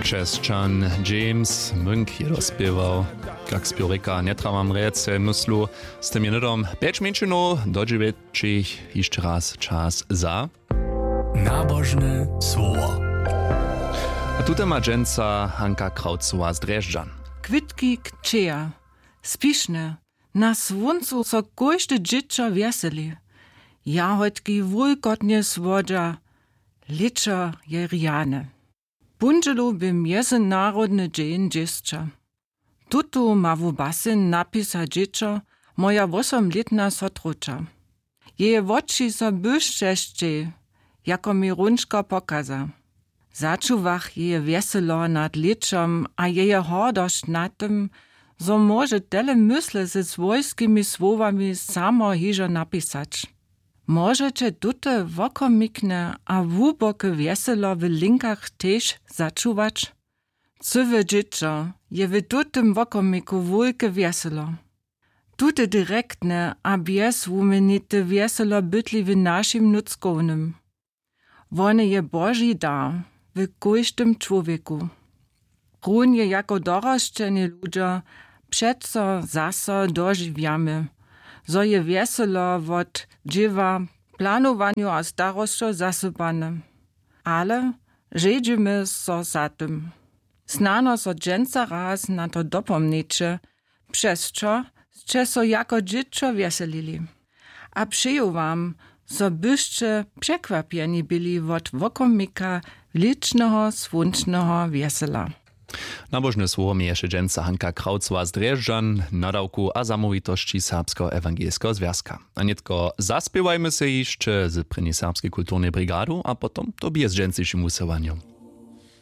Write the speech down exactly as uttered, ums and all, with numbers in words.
Křesćan James Munk je dospěwał. Kak spěw rěka, njetrawam rjece myslu. Z tym je hnydom pjeć mjeńšinow do dźewjećich hišće raz čas za nabožne słowo. A tute ma dźensa Hanka Kraucowa z Drježdźan. Kwětki kćeja, spišne, na słóncu so kóžde dźěćo wjeseli. Jahodki wulkotnje słodźa, lěćo je rjane. Póndźelu bě mjezynarodny dźeń dźěsća. Tutu ma wubaseń napisać dźěćo, moja wósomlětna sotroća. Jeje woči so byšćešćej, jako mi runčka pokaza. Začuwach jeje wjeselo nad lěćom a jeje hordosć nad tym, zo móže tele mysle ze swójskimi słowami samo hižo napisać. Móžeće tute wokomikne a hłuboke wjeselo w linkach tež začuwać? Cyłe dźěćo je w tutym wokomiku wulke wjeselo. Tute direktne a bjezwuměnite wjeselo bytli w našim nutřkownym. Wone je Boži dar w kóždym čłowjeku. Runje jako dorosćeni ludźo přeco zaso dožiwjamy, zo je wjeselo wot dźěła, planowanju a starosćow zasypane. Ale žedźimy so za tym. Snano so dźensa raz na to dopomnjeće, přez čo sće so jako dźěćo wjeselili. A přeju wam, zo byšće překwapjeni byli wot wokomika lěćneho słónčneho wjesela. Nabožne słowo měješe dźensa Hanka Kraucowa z Drježdźan, nadawku a zamołwitosći Serbskeho ewangelskeho zwjazka. A nětko zaspěwajmy se hišće z prěni serbskej kulturnej brigadu a potom to bě z dźensnišim wusyłanjom.